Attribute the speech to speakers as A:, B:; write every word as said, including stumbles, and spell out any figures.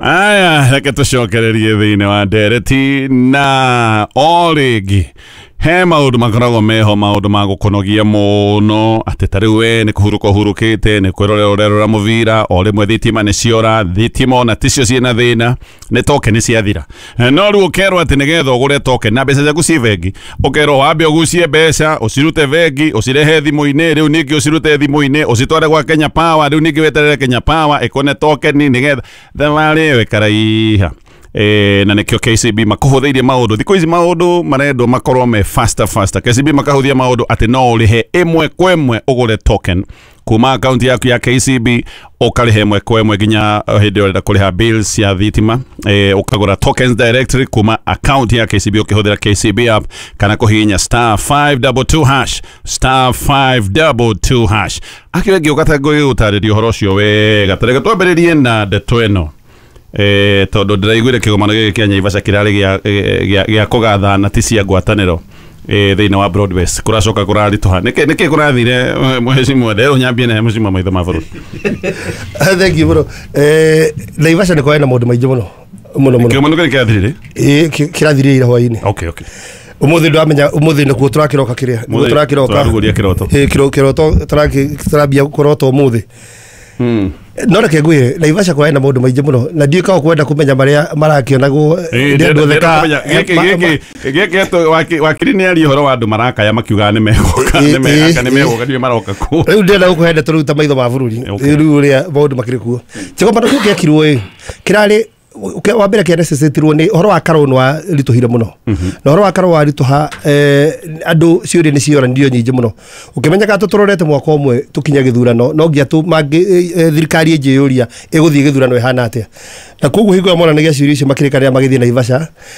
A: Aya, reke tũcokererie thĩinĩ wa ndereti na o rĩngĩ he maũndũ makoragwo meho, maũndũ ma gũkũnogia mũno, atĩ ta rĩu we nĩ kũhurũka ũhurũkĩte, nĩ kwĩrorera ũrerora mũbira, o rĩmwe thitima nĩ ciora. Thitima ona ticio ciĩna thĩna, nĩ token ciathira. No rĩu ũkerwo atĩ nĩgetha ũgũre token na mbeca ciaku ci bengi, ũkerwo wambe ũgucie mbeca, ũcirute bengi, ũcirehe thimũ-inĩ, rĩu ningĩ ũcirute thimũ-inĩ ũcitware gwa Kenya Power, rĩu ningĩ weterere Kenya Power ĩkũne token nĩgetha thabarĩ ĩyo ĩkaraiha. E, na nĩkĩo K C B makũhũthĩirie maũndũ. Thikũ ici maũndũ marendwo makorwo me faster faster. K C B makahũthia maũndũ atĩ no ũrĩhe ĩmwe kwa ĩmwe, ũgũre token kuma akaunti yaku ya K C B, ũkarĩha ĩmwe kwa ĩmwe nginya hĩndĩ ĩrĩa ũrenda kũrĩha bills cia thitima. e, ũkagũra tokens directly kuma akaunti ya K C B ũkĩhũthĩra K C B app kana kũhihinya star five two two hash, star five two two hash. Akĩo ngĩũka ta ngũgĩgũtarĩria ũhoro ũcio wega. Tareke twambĩrĩrie na ndeto ĩno, eh, tondũ ndĩraiguire kĩgomano gĩkĩ kĩa Naivasha kĩrarĩ gĩa gĩa gĩa kũgathana, ti cia ngwatanĩro eh, thĩinĩ wa Broadways kũracoka kũraritũha. Nĩkĩ nĩkĩ kũrathire, mheshimiwa? Nderwo nyambie na mheshimiwa maitho ma bũrũri.
B: Thank you mũno. eh Naivasha nĩ kwarĩ na maũndũ maingĩ mũno mũno mũno.
A: Kĩgomano gĩkĩ kĩrathirire?
B: Ĩĩ, kĩ- kĩrathirire ira hwaĩ-inĩ.
A: okay okay
B: Ũmũthĩ ndwamenya, ũmũthĩ nĩkuo tũrakĩroka kĩrĩa nĩkuo
A: Ũmũthĩ
B: tũrakĩroka.
A: Tũrarugũria kĩroto.
B: Ĩĩ, kĩro- kĩroto tũraki- tũrambia kũrota ũmũthĩ.
A: Hmm.
B: No reke ngwĩre, Naivasha kwarĩ na maũndũ maingĩ mũno na ndiũĩ kana kwenda kũmenya marĩa marakĩonagwo
A: Ĩĩ,
B: nĩ andũ othe.
A: ndĩrenda
B: ka-
A: kũmenya, gĩkĩ
B: ma- ma-
A: gĩkĩ gĩkĩ atũ- waki- wakiri nĩ aria ũhoro wa andũ marakaya makiugaga nĩ megũka,
B: Ĩĩ,
A: nĩ megũka,
B: ĩĩ,
A: nĩ megũka, ndiũĩ maroka kũ.
B: Rĩu ndĩrenda gũkũhe ndeto rĩu ta maitho ma bũrũri.
A: Okay.
B: Rĩu ũrĩa maũndũ makĩrĩ kuo, kĩgomano kĩu gĩekirwo ĩ kĩrarĩ ũke- wa mbere kĩa nĩ ũhoro wa karũnũ waritũhire mũno, na ũhoro wa karũnũ waritũha, eh, andũ ciũria nĩ cioranirio nyingĩ mũno. Ũkĩmenyaga tũtũrorete mwaka ũmwe tũkinya gĩthurano, no nginya tũ- mangĩ eh, thirikari ĩnjĩyũria ĩgũthiĩ gĩthurano ĩhana atĩa, na koguo hingo ĩyo monanagia ciũria icio makĩrĩkanĩra magĩthiĩ Naivasha.